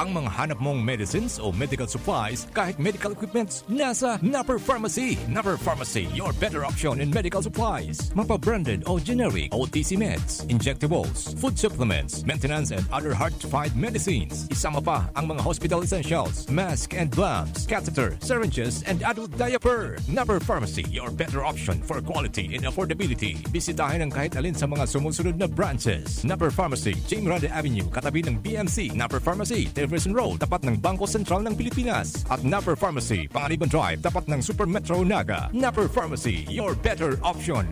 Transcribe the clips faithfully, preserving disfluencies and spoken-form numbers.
Ang mga hanap mong medicines o medical supplies, kahit medical equipments, nasa Napper Pharmacy. Napper Pharmacy, your better option in medical supplies. Mapa-branded o generic, O T C meds, injectables, food supplements, maintenance and other hard-to-find medicines. Isama pa ang mga hospital essentials, mask and gloves, catheter, syringes, and adult diaper. Napper Pharmacy, your better option for quality and affordability. Bisitahin ang kahit alin sa mga sumusunod na branches. Napper Pharmacy, Jim Rade Avenue, katabi ng B M C. Napper Pharmacy, Television Road, tapat ng Bangko Sentral ng Pilipinas. At Napper Pharmacy, Panganiban Drive, tapat ng Super Metro Naga. Napper Pharmacy, your better option.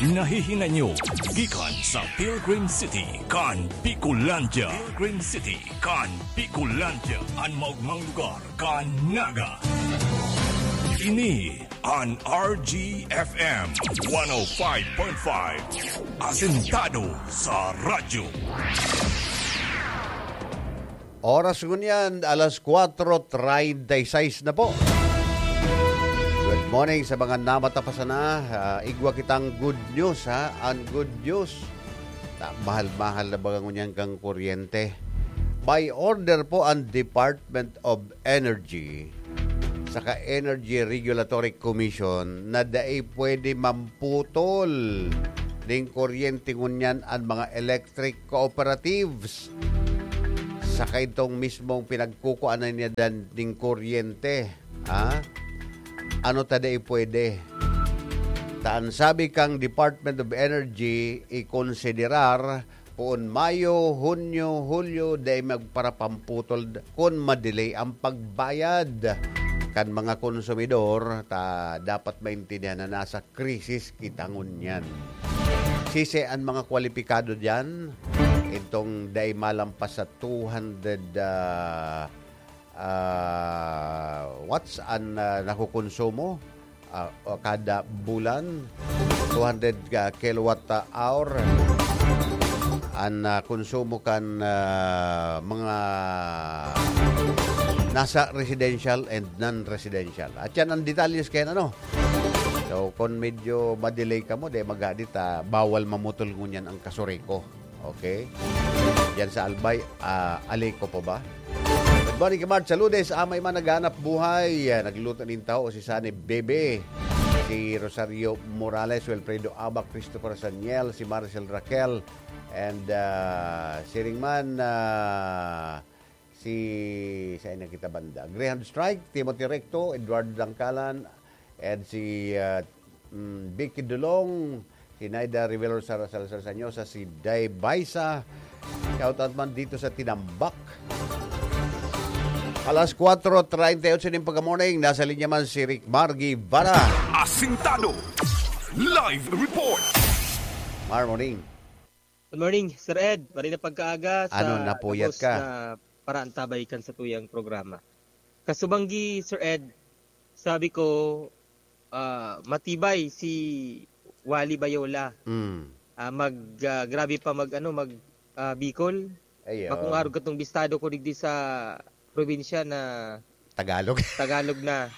Nahihinay nyo gikan sa Pilgrim City, kan Bicolandia. Pilgrim City, kan Bicolandia, an maogmang lugar kan Naga. Ini an R G F M one oh five point five, asentado sa radyo. Oras ngunyan, alas kwatro treinta y seis na po. Good morning sa mga namatapasan na. Ah, igwa kitang good news, ha? Ang good news, ta-, mahal-mahal na baga ngunyan kang kuryente. By order po ang Department of Energy saka Energy Regulatory Commission na dai pwede mamputol ning kuryente ngunyan ang mga electric cooperatives. Saka itong mismong pinagkukuanan niya dan ning kuryente, ha? Ano ta dai pwede? Ta an sabi kang Department of Energy, ikonsiderar poon Mayo, Hunyo, Hulyo, dai magparapamputol d-, kun ma-delay ang pagbayad kan mga konsumidor, ta dapat maintindihan na nasa krisis kita ngunyan. Sisi an mga kwalipikado diyan, itong dai malampas sa two hundred, ah, ah, watts an, ah, nakokonsumo, ah, o kada bulan, two hundred, ah, kilowatt hour an, ah, konsumo kan, ah, mga nasa residential and non-residential. At yan ang detalye kaya, ano? So, kung medyo ma-delay ka mo, di maghadit, ah, bawal mamutol ngunyan ang kasureko. Okay? Yan sa Albay, ah, Aleco pa ba? Good morning, Kamart. Sa Lourdes, amay man naghanap buhay. Ah, nagluto nin taho si Sunny Bebe, si Rosario Morales, Wilfredo Abac, Christopher Saniel, si Maricel Raquel, and, ah, siring man, ah, si, saan na kita banda? Greyhound Strike, Timothy Recto, Eduardo Dangkalan, and si, ah, mm, Vicky Dulong, si Naida Rivero Sar-, Salazar Sanyosa, si Day Baisa. Shout out man dito sa Tinambak. Alas kwatro treinta y ocho nin pagka-morning, nasa linya man si Rick Mar Guevara. Asintado. Live report. Mar, morning. Good morning, Sir Ed. Maray na pagkaaga sa Ano, napuyat gabos ka? Na paraantabay kan satuyang programa. Kasubanggi, Sir Ed, sabi ko, ah, matibay si Wally Bayola. Mm. Ah, mag, ah, grabe pa mag, ano, mag, ah, Bicol. Ayun. Bakong arog katong bistado ko digdi sa probinsya na Tagalog. Tagalog na.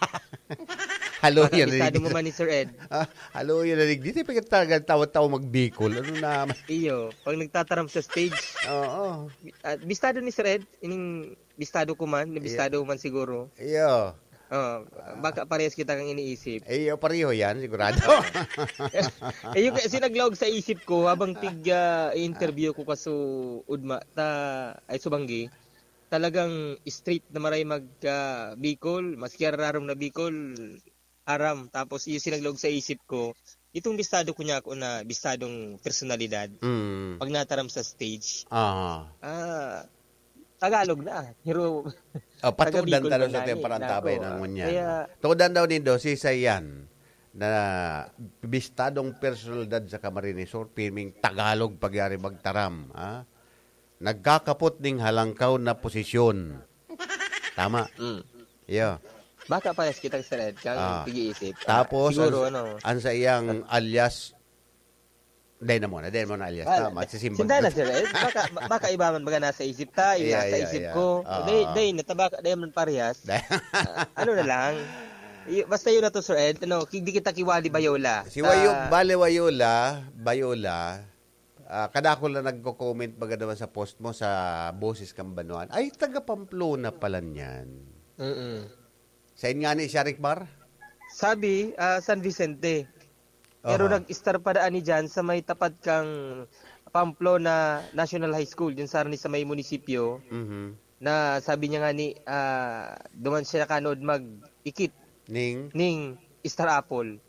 Halo Baka yan, bistado Rick. Mo man ni Sir Ed. Ah, halo yan, Rick. Di tayo pagkatagal tawa-tawa mag-Bicol. Ano na? Iyo, pag nagtataram sa stage. Oo. Ah, bistado ni Sir Ed, ining bistado ko man, na Iyo. Bistado man siguro. Iyo. Oh, baka parehas kita kang iniisip. Iyo, pareho yan, sigurado. Eh, yung kasi naglaog sa isip ko habang tig, ah, interview ko kaso Udma, ta, ay subanggi, talagang straight na maray mag, ah, Bicol, maski arararom na Bicol, aram. Tapos, iyo sinaglaog sa isip ko, itong bistado ko niya ako na bistadong personalidad, Mm. pag nataram sa stage, Aha. ah, Tagalog na. Pero, Oh, taga patudan Bicol talo man sa na, ating eh. Parantabay Nako, na ah, ngunyan. Kaya Tudan daw nindo, si Sayan, na bistadong personalidad sa Camarines Sur, pirming Tagalog pagyari magtaram, ha? Nagkakapot ning halangkaw na posisyon. Tama. Mm. Iyo. Baka parehas kita, Sir Ed, kang Ah. pag-iisip. Ah, Tapos, siguro, ang, ano, ang sa iyang alias, dahil na muna, dahil muna alias. Wala. Tama, sisimba Sinda na, na. Sir Ed. Baka, baka iba man baga nasa isip ta, yung Iya, nasa iya, isip iya. ko. Oo. Dahil, dahil na, tabaka, dahil man parehas. Dahil Ah, ano na lang. Y- basta yun na to, Sir Ed. Ano, ki- di kita kiwali Bayola. Si Wayo, Bale Wayola, Bayola, ah, kadakol na nagko-comment baga naman sa post mo sa Boses Kambanuan. Ay, taga Pamplona pala niyan. Mm-mm. Sain nga ni siya, Ricmar? Sabi, ah, San Vicente. Pero Aha. Nag-start pa daan ni dyan sa may tapat kang Pamplona National High School, dyan sa, sa may munisipyo, Mhm. na sabi niya nga ni, ah, duman siya nakanood mag-ikit Ning, ning Star Apple.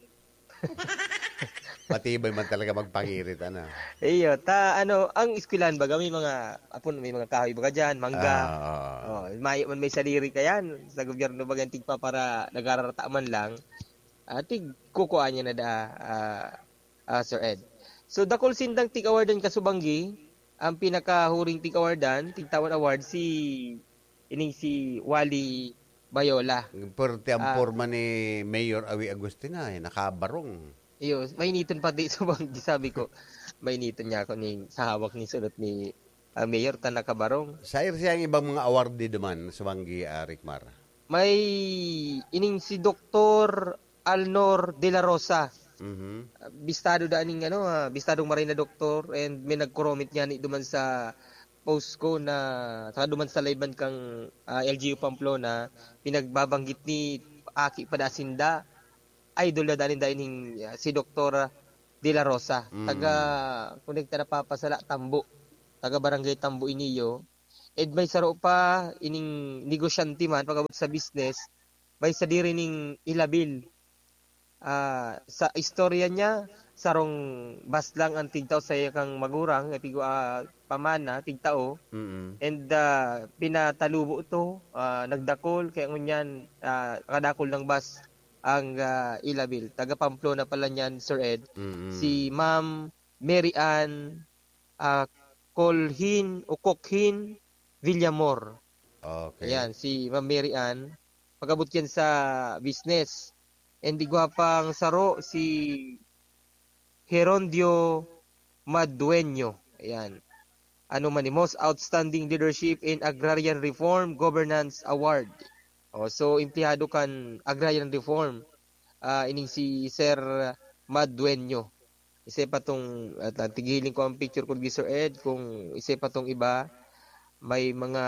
Matibay man talaga magpangirit, ano? Iyo, ta ano, ang eskwelahan baga may mga apon, may mga kahoy baga diyan, mangga. Ah, Oh, may man may sadiri kayan sa gobyerno baga tigpa para nagararata man lang. Ah, tig kukuha niya na da, ah, ah, Sir Ed. So, dakul sindang tig-awardan kasubanggi, ang pinakahuring tig-awardan, tigtawan award si ining si Wally Bayola. Perte ang Ah. Porma ni Mayor Awi Agustina, eh, nakabarong. Iyo, mainiton pati subanggi, sabi ko. Mainiton niya ako ni sa hawak ni sulot ni ah, Mayor ta nakabarong. Sair siya ang ibang mga awardee duman, subanggi, ah, Ricmar. May ining si Doktor Alnor De La Rosa. Mhm. Ah, bistado da ning ano, ah, bistadong maray na doktor, and may nagkoromit niya ni duman sa post ko na saka duman sa live man kang ah, L G U Pamplona, pinagbabanggit ni Aki Padasinda, idol na dani dahil ning ah, si Doktor De La Rosa, Mm. taga Connecta na Papasala, Tambo, taga Barangay Tambo Iniyo. And may saro pa ining negosyante man pag-abot sa business, may sadiri ning Ilabil. Ah, sa istorya niya, sarong bas lang ang tigtao sa iya kang magurang, eh, pigo, ah, pamana, tigtao. Mm. And ah, pinatalubo to, ah, nagdakol, kaya ngunyan, ah, kadakol ng bas ang ah, Ilabil. Taga Pamplona pala niyan, Sir Ed. Mm. Si Ma'am Mary Ann ah, Colhin o Kokhin Villamor. Okay. Ayan, si Ma'am Mary Ann. Pag-abot yan sa business. And igwa pang saro, si Gerondio Madueño. Ayan. Ano man ni, Most Outstanding Leadership in Agrarian Reform Governance Award. Oh, so, empleyado kan Agrarian Reform. Ah, ining si Sir Madueño. Isa pa tong, at, at tigiling ko ang picture ko, Sir Ed, kung isa pa tong iba, may mga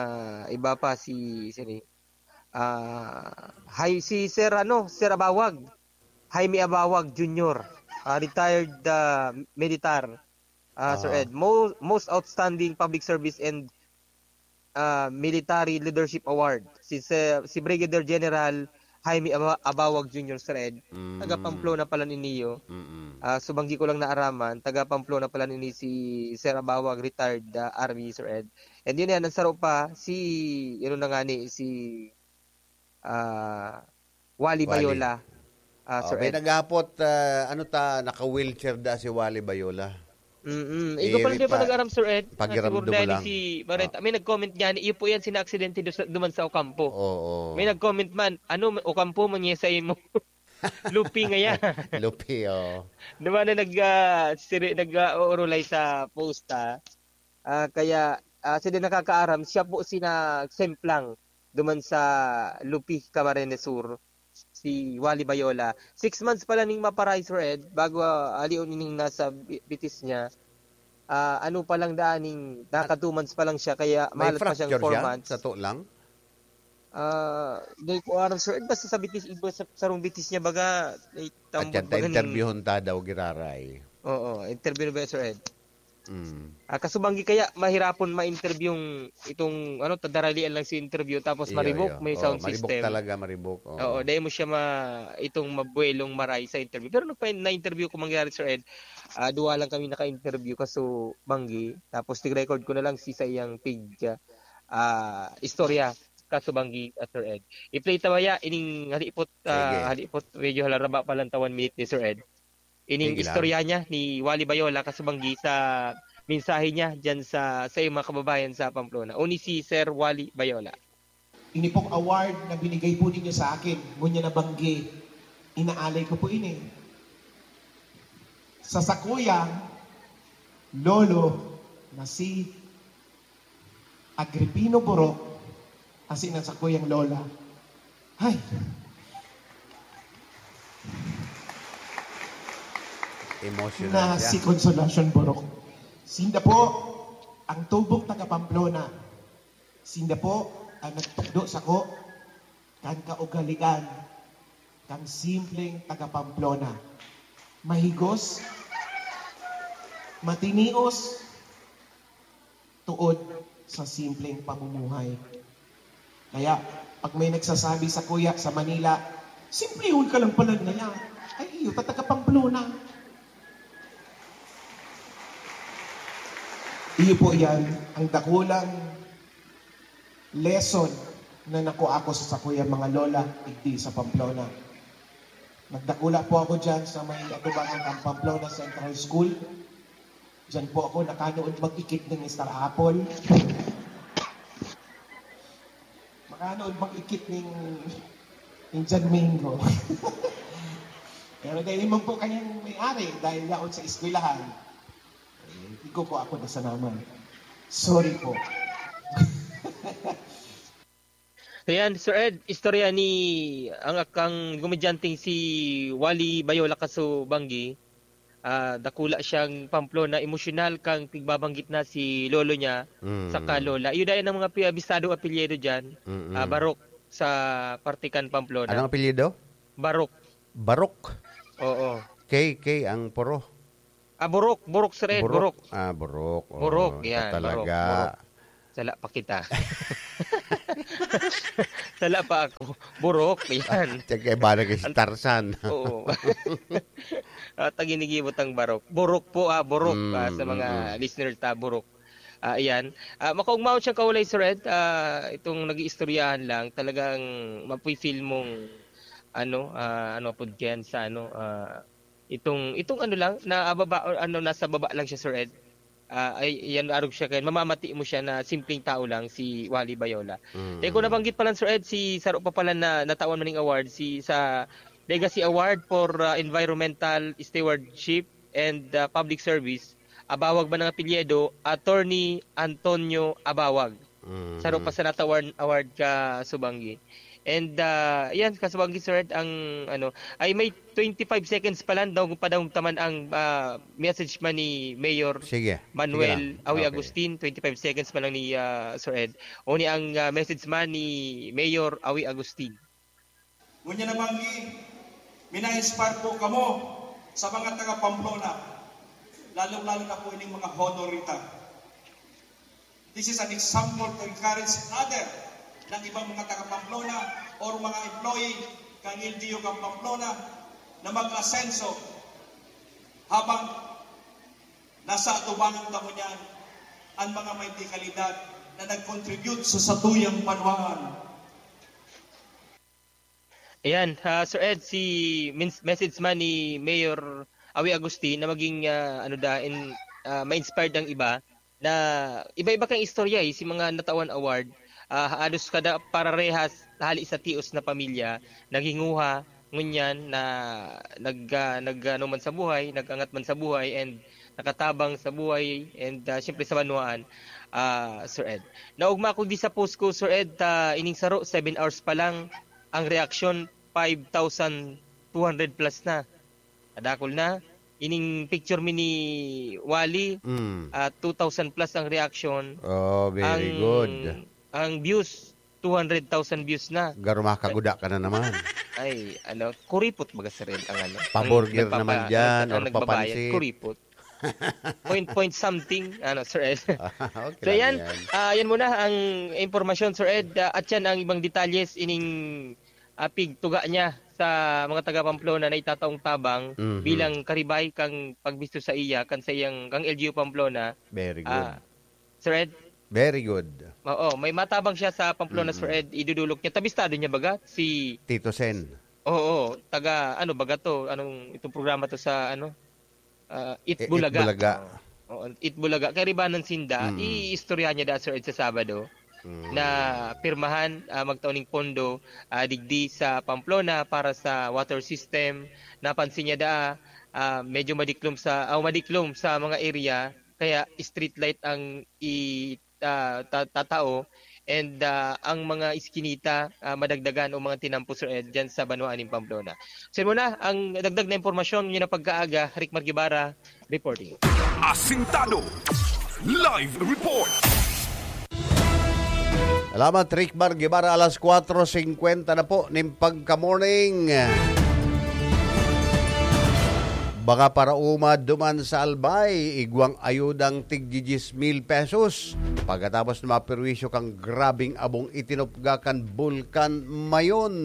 iba pa si, sino, ah, hay, si Sir, ano, Sir Abawag. Jaime Abawag Junior, ah, retired ah, militar. Ah, Sir Ah. Ed, mo, most outstanding public service and ah, military leadership award. Si, si, si Brigadier General Jaime Aba- Abawag Junior, Sir Ed. Mm. Taga Pamplona pala niniyo. Mm-mm. Ah, subanggi ko lang naaraman, taga Pamplona pala nini si Sir Abawag, retired ah, army, Sir Ed. And yun yan, ang saro pa, si, yun na nga ni, si ah, Wally Wally. Bayola. Ah, Oh, Sir may Ed. naghapot, ah, ano ta, naka-wheelchair da si Wally Bayola. Mm-mm. Eh, Ikaw pala di pa pa- nag-aram, Sir Ed? Na pakiramdam siguro mo dahil lang. Si Barreta. May nag-comment niyan, iyo po yan, sina-aksidente doon sa, duman sa Ocampo. Oo. May nag-comment man, ano, Ocampo mo niya sa imo. Lupi nga yan. Lupi, oh. Diba na nag, ah, siri, nag, ah, uurulay sa posta? Ah, kaya, ah, sila nakakaaram, siya po sina Semplang duman sa Lupi, Camarines Sur, si Wally Bayola. Six months pala ning maparay, Sir Ed, bago ah, alion ining nasa bi- bitis niya. Ah, ano pa lang daan ning, naka two months pa lang siya, kaya May mahalat pa siyang fracture four siya, months. sa to lang? Ah, di ko aram, Sir Ed, basta sa bitis, iba sa sarong bitis niya, baga, eh, At tambot yan, baga ning- interviewon ta daw, giraray. Oo, interview na ba, Sir Ed? Mm. Ah, kasubanggi kaya mahirapon ma-interview yung itong ano, tadaralian lang si interview tapos Iyo, maribok, iyo. may Oo, sound maribok system. Talaga, maribok. Oo. Oo, dahil mo siya ma itong mabuelong maray sa interview. Pero nung pa- na-interview ko mangyari, Sir Ed, ah, duwa lang kami naka-interview kaso banggi. Tapos tig-record ko na lang si sa iyang pig ah, istorya kaso banggi, ah, Sir Ed. I-play ta baya ining halipot, ah, Sige. Halipot, medyo halaraba pa lang ta one minute ni Sir Ed. Ining Sige lang. Istorya niya ni Wally Bayola kasubanggi sa mensahe niya diyan sa, sa iyong mga kababayan sa Pamplona. O ni si Sir Wally Bayola. Ini pong award na binigay po ninyo sa akin, ngunyan na banggi, inaalay ko po ini. Sa sakuyang lolo na si Agripino Borok, asin ang sakuyang lola. Ay, Emotional na siya. Si Consolacion Borok. Sinda po ang tubong taga Pamplona. Sinda po ang nagtukdo sako kan kaugalian kan simpleng taga Pamplona. Mahigos, matinios, tuod sa simpleng pamumuhay. Kaya, pag may nagsasabi sa kuya sa Manila, "Simplehon ka lang pala na yan." Ay, iyo, ta taga Pamplona. Iyo po yan, ang dakulang lesson na nakuha ko sa sakuyang mga lola, digdi sa Pamplona. Nagdakula po ako dyan sa may atubangan ng Pamplona Central School. Diyan po ako nakanood mag-ikit ng Star Apple. Makanood mag-ikit ng Indian Mango. Pero dahil naman po kayang may-ari, dahil yaon sa eskwelahan, eh, hindi ko po ako nasanaman. Sorry po. Ayan, Sir Ed, istorya ni ang akang komedyanteng si Wally Bayola Kaso Banggi. Ah, dakula siyang Pamplona, emosyonal kang pigbabanggit na si lolo niya Mm. saka lola. Iyo dayan ang mga pi- abistado apelyido diyan. Mm-mm. Ah, Barok sa parte kan Pamplona. Anong apelyido? Barok. Barok. Oo. K, K ang puro. Ah, Burok, Burok, Sir Ed, Burok. Ah, Burok. Oh, Burok, yan, talaga. Burok, Burok. Sala pa kita. Sala pa ako. Burok, yan. Tiyan kay bala kay si Tarzan. Oo. At ang ginigibot ang Barok. Burok po, ah, Burok, Mm, ah, sa mga mm. listeners ta, Burok. Ah, ayan. Ah, makaugmaon siyang kaulay, Sir Ed. Ah, itong nag-iistoryahan lang, talagang mafe-feel mong, ano, ah, ano po diyan sa, ano, ah, itong, itong ano lang, na baba, or ano, nasa baba lang siya, Sir Ed. Ah, ay, yan, arog siya kayo. Mamamati mo siya na simpleng tao lang, si Wally Bayola. Mm. Eh, kung nabanggit pa lang, Sir Ed, si saro pa pala na natawan maning award, si sa Legacy Award for ah, Environmental Stewardship and ah, Public Service, Abawag man ang apelyido, Attorney Antonio Abawag. Mm. Saro pa sa natawan award ka Subanggi. And ah, yan, Kasubanggi, Sir Ed, ang ano, ay may twenty-five seconds pa lang daw padahong taman ang ah, message man ni Mayor Sige. Manuel Sige lang. Awi Okay. Agustin, twenty-five seconds pa lang ni ah, Sir Ed. O ni ang ah, message man ni Mayor Awi Agustin. Ngunyan na Banggi, mina-inspire po kamo sa mga taga Pamplona, lalong-lalo na po ining mga honorita. This is an example to encourage other ng ibang mga taga Pamplona or mga employee kang L G U kang Pamplona na mag-asenso habang nasa atubangan kamo niyan ang mga may kalidad na nag-contribute sa satuyang banwaan. Ayan, ah, Sir Ed, si mins- message man ni Mayor Awi Agustin na maging ah, ano da in ah, ma-inspired ang iba na iba-iba kang istorya eh, si mga natawan award, ah, halos kada pararehas hali sa tios na pamilya naghinguha ngunyan na nag ah, nag ano man sa buhay, nag-angat man sa buhay and nakatabang sa buhay and ah, siyempre sa banwaan, ah, Sir Ed. Naugma ako di sa post ko, Sir Ed, ah, ining saro, seven hours pa lang ang reaction five thousand two hundred plus na. Kadakol na. Ining picture mi ni Wally, Mm. ah, two thousand plus ang reaction. Oh, very ang, good. Ang views, two hundred thousand views na. Garo makaguda ka na naman. Ay, ano, kuripot baga, Sir Ed, ang ano. Pa-burger ang nagpapa- naman dyan, ang or nagbabayad, papansit. Kuripot. Point, point something, ano, Sir Ed. Okay So lang yan, yan. ah, yan muna ang impormasyon, Sir Ed. Ah, at yan ang ibang detalles ining ah, pigtuga niya sa mga taga Pamplona na itataong tabang Mhm. bilang karibay kang pagbisto sa iya kan sa iyang kang L G U Pamplona. Very good. Ah, Sir Ed, Very good. Oo, may matabang siya sa Pamplona, Mm. Sir Ed, idudulok niya. Tabistado niya baga si Tito Sen. Oo, taga ano baga to? Anong itong programa to sa ano? Ah, Eat E- Eat Bulaga. Bulaga. Oo, Eat Bulaga. Kay ribanan sinda, Mm. iistoryahan niya da, Sir Ed, sa Sabado Mm. na pirmahan, ah, magtao ning pondo, ah, digdi sa Pamplona para sa water system. Napansin niya da, ah, medyo madiklom sa, ah, madiklom sa mga area, kaya street light ang i-, ah, ta- tatao. and ah, ang mga iskinita ah, madagdagan o mga tinampos eh, dyan sa banwaan ng Pamplona. So yun muna, ang dagdag na impormasyon yun na pagkaaga, Rick Margibara, reporting. Asintado. Live report. Salamat, Rick Bar Guevara. Alas kwatro singkwenta na po ning pagka-morning. Baka parauma duman sa Albay, igwang ayudang tig diyes mil pesos. Pagkatapos na maperwisyo kang grabing abong itinupga kan Bulkan Mayon.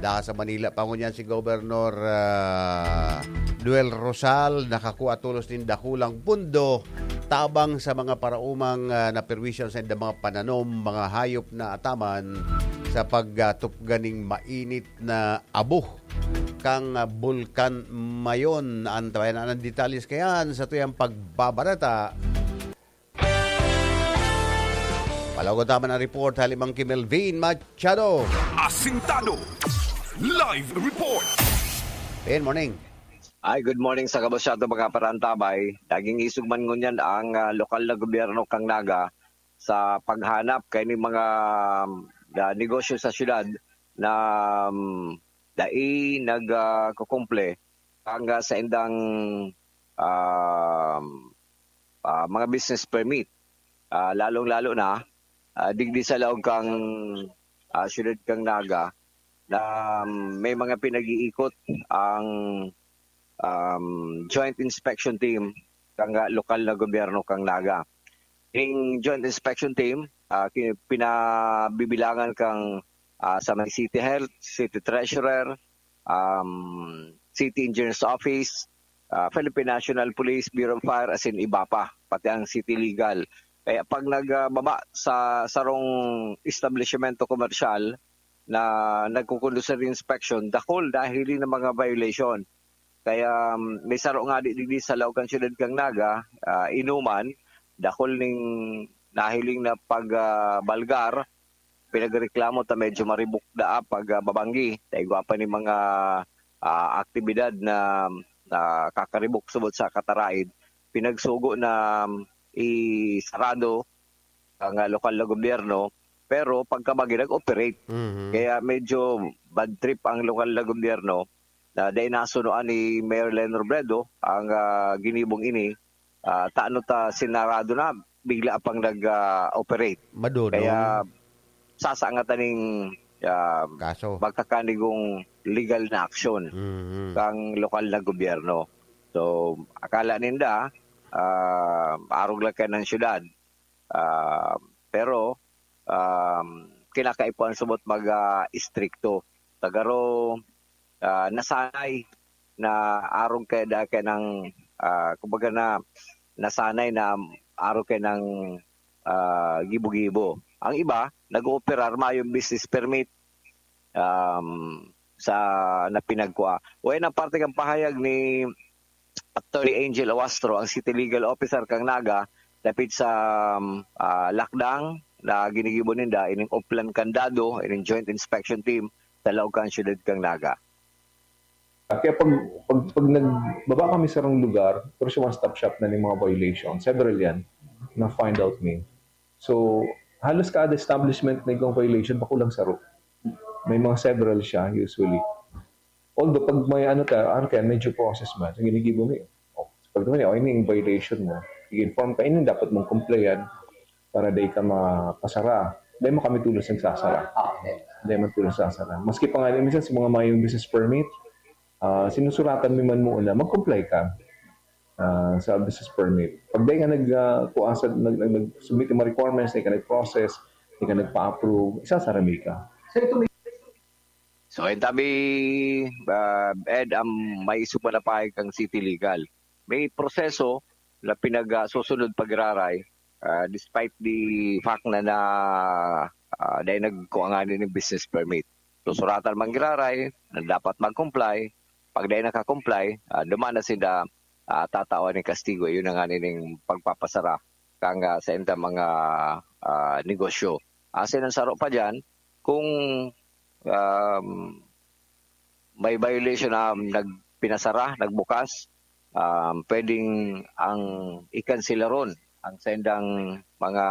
Da sa Manila pa ngunyan si Gobernador ah, Duel Rosal nakakua tolos nin dakulang pundo tabang sa mga paraumang ah, naperwisyo sa indang mga pananom, mga hayop na ataman sa pagtupga ning mainit na abo kang ah, Bulkan Mayon. Antabayan ang detalles kayan sa tuyang pagbabareta. Palagot naman ang report, Halimang Kimelvin Machado. Asintado. Live report. Good morning. Ay, good morning sa kabos siya ito, mga parantabay. Naging isog man ngunyan ang ah, lokal na gobyerno kang Naga sa paghanap kay ni mga ah, negosyo sa syudad na um, dai nagkukumple ang ah, sa indang um, ah, mga business permit. Ah, lalong-lalo na ah, digdi sa laog kang ah, syudad kang Naga na um, may mga pinag-iikot ang um, Joint Inspection Team kang ah, lokal na gobyerno kang Naga. Ning Joint Inspection Team, ah, ki- pinabibilangan kang ah, sa may City Health, City Treasurer, um, City Engineer's Office, ah, Philippine National Police, Bureau of Fire, as in iba pa, pati ang City Legal. Kaya pag nagbaba sa sarong establishmento komersyal na nagkukonduce nin inspection, dakul nahiling na mga violation. Kaya um, may saro nga di digdi sa laog kan siyudad kang Naga, ah, inuman, dakul ning nahiling na pagbalgar, pinagreklamo ta medyo maribok daa pag ah, babanggi. Ta igwa pa ni mga ah, aktibidad na, na kakaribok subot sa kataraid, pinagsugo na um, isarado ang ah, lokal na gobyerno, pero pagkabagi nag-operate. Mhm. Kaya medyo bad trip ang lokal na gobyerno na dahil nasunoan ni Mayor Len Robredo ang ah, ginibong ini. Ah, tano ta sinarado na, bigla pang nag-operate. Madunong. Kaya sasangatan ning ah, Kaso. magkakanigong legal na aksyon Mhm. kang lokal na gobyerno. So, akala ninda, ah, arog lang kaya ng syudad. Ah, pero, um, kinakaipuhan subot mag ah, istrikto. Tagaro, ah, nasanay na arog kaya da kaya ng, ah, kumbaga na nasanay na arog kaya ng ah, gibo-gibo. Ang iba, nag-ooperar, mayong business permit um, sa na pinagkua. Uy, ang parte kang pahayag ni Attorney Angel Awastro, ang City Legal Officer kang Naga, dapit sa um, ah, lakdang na ginigibo ninda ining Oplan Candado, ining Joint Inspection Team sa laog kan syudad kang Naga. Kaya pag, pag, pag nagbaba kami sa sarong lugar, pero siya one-stop shop na ning mga violation. Several yan na find out me. So, halos kada establishment na igong violation, bakulang saro. May mga several siya, usually. Although, pag may ano ka, ano kaya, medyo process man, so ginigibo mo yun. Oh, pag naman, oh, ini yung violation mo. I-inform ka, ini dapat mong complayan para day ka mapasara. Dahil mo kami tulos nagsasara. Dahil mo tulos nagsasara. Maski pa nga, minsan sa mga mayong business permit, ah, sinusuratan mo man muna, mag-comply ka ah, sa business permit. Pag dahil ka nag, ah, kuasa, nag, nag, nag-submit yung mga requirements, dahil ka nag-process, dahil ka nagpa-approve, isasara mo ka. So, ang tabi, ah, Ed, ang may isog pa na pahayag kang City Legal. May proseso na pinagsusunod pagraray, ah, despite the fact na, na ah, dahil nagkuha nga nin business permit. So, suratan man giraray na dapat mag-comply. Pag dahil nakakomply, ah, duman na sila ah, tatawan ng kastigo. Yun na nga ning pagpapasara kang ah, sa inda mga ah, negosyo. Asin ang saro pa dyan, kung um, may violation na nagpinasara, nagbukas, um, pwedeng ang ikansilaron ang sendang mga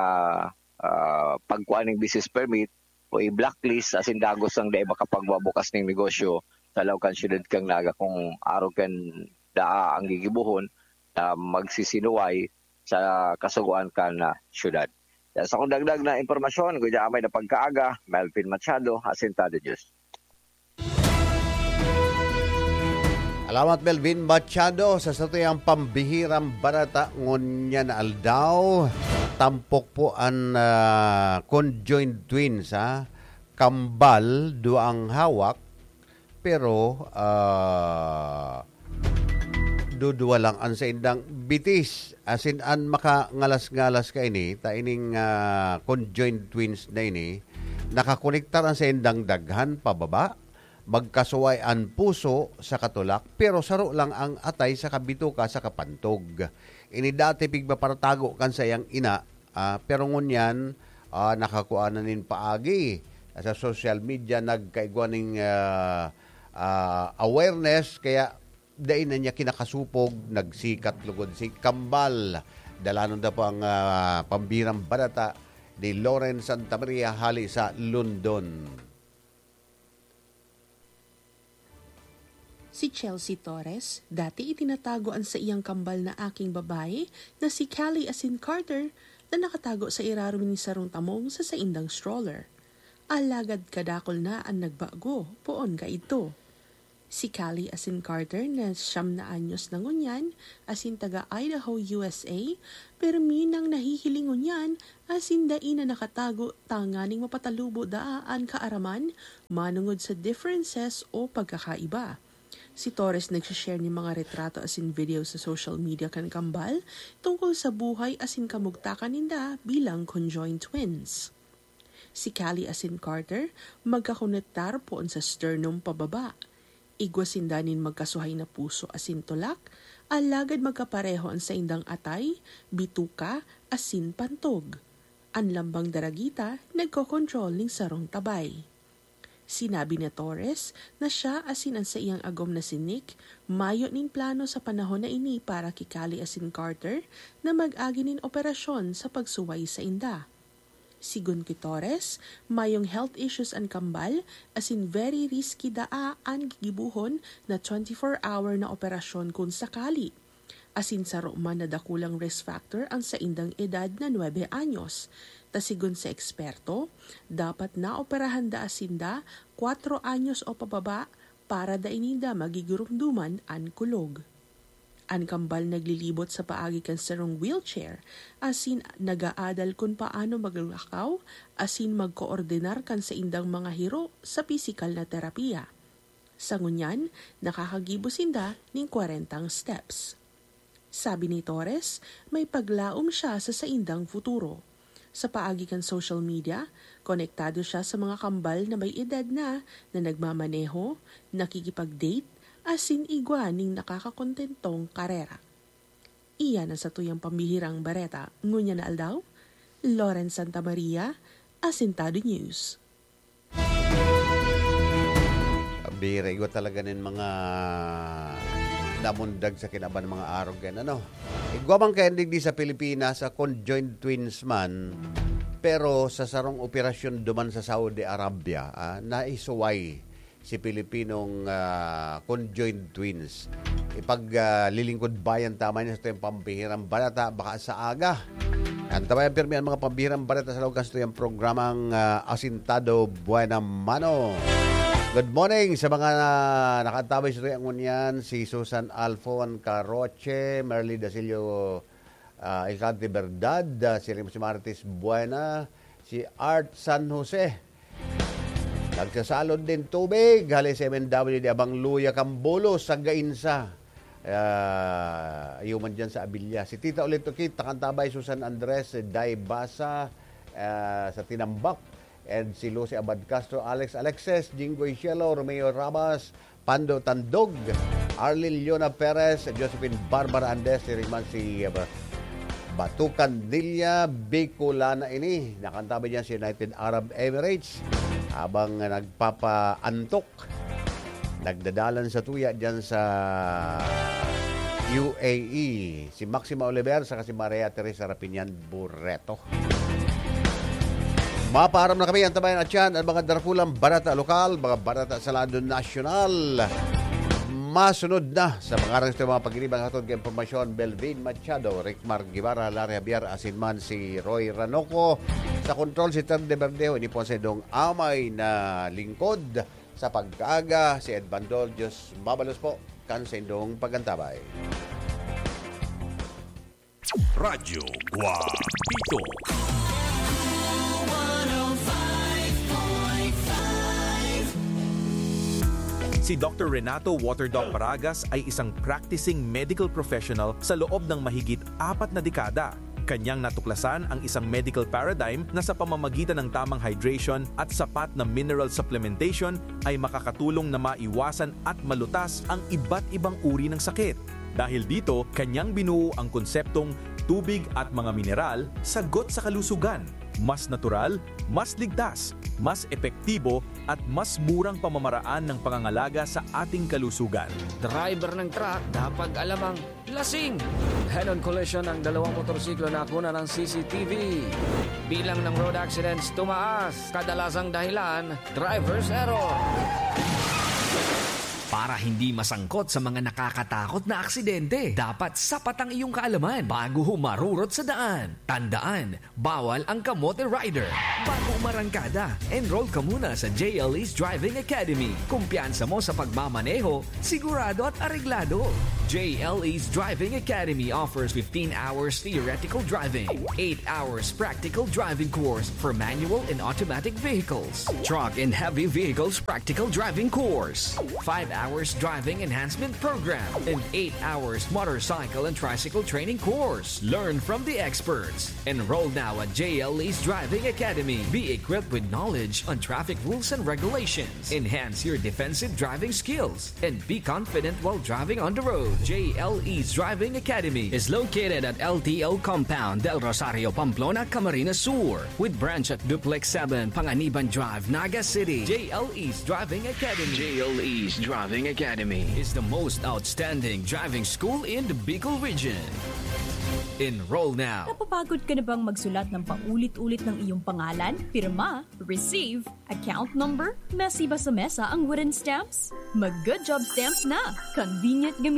ah, pagkuha ning business permit o i-blacklist asin dagos ang dai makapagbubukas ning negosyo sa laog kan syudad kan Naga kung arog kan daa ang gigibohon na magsisinuway sa kasugoan kan, ah, syudad. Yan sa kong dagdag na impormasyon, guyamay na pagkaaga, Melvin Machado, Asintado News. Salamat, Melvin Machado, sa satuyang pambihirang barata ngunyan na aldaw. Tampok po an, ah, conjoined twins, ha? Kambal, duwa ang hawak, pero, ah, dudwa lang an saindang bitis. Asin an makangalas-ngalas kaini, ta ining, ah, conjoined twins na ini, nakakonektar an saindang daghan pababa, magkasuway an puso sa katulak, pero saro lang ang atay sa kabituka sa kapantog. Ini dati pigpaparatago kan saiyang ina, ah, pero ngunyan, ah, nakakua na nin paagi. Sa social media, nagkaigwa ning, ah, ah, awareness, kaya dai na niya kinakasupog, nagsikat lugod si Kambal. Dalanon na po ang, ah, pambihirang barata ni Loren Santa Maria hali sa London. Si Chelsea Torres, dati itinatago an saiyang kambal na aking babae na si Callie asin Carter na nakatago sa irarom nin sarong tamong sa saindang stroller. Alagad kadakul na an nagbago poon kaidto. Si Callie asin Carter na siyam na anyos na ngunyan asin taga Idaho, U S A, permi nang nahihiling ngunyan asin dai na nakatago tanganing mapatalubo daa an kaaraman manongod sa differences o pagkakaiba. Si Torres nagsishare nin mga retrato asin video sa social media kan kambal tungkol sa buhay asin kamugtakan ninda bilang conjoined twins. Si Callie asin Carter magkakonektar poon sa sternum pababa. Igwa sinda nin magkasuhay na puso asin tulak, alagad magkapareho an saindang atay, bituka, asin pantog. An lambang daragita nagkokontrol nin sarong tabay. Sinabi ni Torres na siya asin an saiyang agom na si Nick mayo nin plano sa panahon na ini para ki Callie asin Carter na mag-agi nin operasyon sa pagsuway sainda. Sigon ki Torres, mayong health issues an kambal, asin very risky daa an gigibohon na twenty-four hour na operasyon kun sakali. Asin saro man na dakulang risk factor an saindang edad na nuebe anyos. Ta sigon sa eksperto, dapat naoperahan daa sinda kwatro anyos o pababa para dai ninda magigurumduman an kulog. An kambal naglilibot sa paagi kan sarong wheelchair, asin nag-aadal kun paano maglakaw asin magkoordinar kan saindang mga hiro sa pisikal na terapiya. Sa ngunyan, nakakagibo sinda nin kwarentang steps. Sabi ni Torres, may paglaom siya sa saindang futuro. Sa paagi kan social media, konektado siya sa mga kambal na may edad na, na nagmamaneho, nakikipag-date, asin igwa nin nakakakontentong karera. Iyan an satuyang pambihirang bareta ngunyan na aldaw. Loren Santa Maria, Asintado News. Bira, igwa talaga nin mga namundag sa kinaban mga arog yan, ano? Igwa man kaya digdi sa Pilipinas, sa conjoined twins man, pero sa sarong operasyon duman sa Saudi Arabia, ah, naisuway si Pilipinong, ah, conjoined twins. Ipag, ah, lilingkod bayan tama niya sa tuyang pambihirang balata, baka sa aga. Antabayan pirmi ang mga pambihirang balita sa laog kan satuyang programang, ah, Asintado Buena Mano. Good morning sa mga, ah, nakaantabay sa tuyang ngunyan, si Susan Alfon Caroche, Merly Dasilio, ah, Alcante Verdad, ah, si Rim-, si Martis Buena, si Art San Jose. Nagsasalod nin tubig, hali sa M N W di Abang Luya Cambulos sa Gainsa. Ah, iyo man dyan sa Abilia. Si Tita Olito Kit, Takantabay, Susan Andres, Day Basa, ah, sa Tinambak, and si Lucy Abad Castro, Alex Alexis, Jinggoy Cielo, Romeo Rabas, Pando Tandog, Arlene Leona Perez, Josephine Barbara Andes, si Riman, si, ah, Batukan Dilia, Bicolana ini. Nakantabay dyan sa United Arab Emirates habang nagpapaantok. Nagdadalan sa tuya dyan sa U A E, si Maxima Oliver saka si Maria Teresa Rapinian Barreto. Mapaaram na kami, antabayan at yan ang mga darakulang barata lokal, mga barata sa lado nasyonal. Masunod na sa mga aras ito, mga pagiribang hatod kay impormasyon, Belvin Machado, Rickmar Guevara, Larry Javier, asin man si Roy Ranoco. Sa kontrol, si Ter de Verdejo, ini po ang saindong amay na lingkod sa pagkaaga, si Ed Bandol. Diyos mabalos po kan saindong pagantabay. Radyo Guapito. Si Doctor Renato Waterdoc Paragas ay isang practicing medical professional sa loob ng mahigit apat na dekada. Kanyang natuklasan ang isang medical paradigm na sa pamamagitan ng tamang hydration at sapat na mineral supplementation ay makakatulong na maiwasan at malutas ang iba't ibang uri ng sakit. Dahil dito, kanyang binuo ang konseptong tubig at mga mineral, sagot sa kalusugan. Mas natural, mas ligtas, mas epektibo, at mas murang pamamaraan ng pangangalaga sa ating kalusugan. Driver ng truck, dapat alam ang lasing! Head-on collision ng dalawang motorsiklo na kuna ng C C T V. Bilang ng road accidents tumaas, kadalasang dahilan, driver's error. Para hindi masangkot sa mga nakakatakot na aksidente, dapat sapat ang iyong kaalaman bago humarurot sa daan. Tandaan, bawal ang kamote rider. Bago umarangkada, enroll ka muna sa J L E's Driving Academy. Kumpiyansa mo sa pagmamaneho, sigurado at areglado. J L E's Driving Academy offers fifteen hours theoretical driving, eight hours practical driving course for manual and automatic vehicles, truck and heavy vehicles practical driving course, five hours driving enhancement program, and eight hours motorcycle and tricycle training course. Learn from the experts. Enroll now at J L E's Driving Academy. Be equipped with knowledge on traffic rules and regulations. Enhance your defensive driving skills and be confident while driving on the road. J L E's Driving Academy is located at L T O Compound, Del Rosario, Pamplona, Camarines Sur, with branch at Duplex seven, Panganiban Drive, Naga City. J L E's Driving Academy. J L E's Driving Academy is the most outstanding driving school in the Bicol region. Enroll now. Napapagod ka na bang magsulat ng paulit-ulit ng iyong pangalan, pirma, receive, account number, mesiba sa mesa ang wooden stamps? Mag Good Job Stamps na! Convenient gamitin.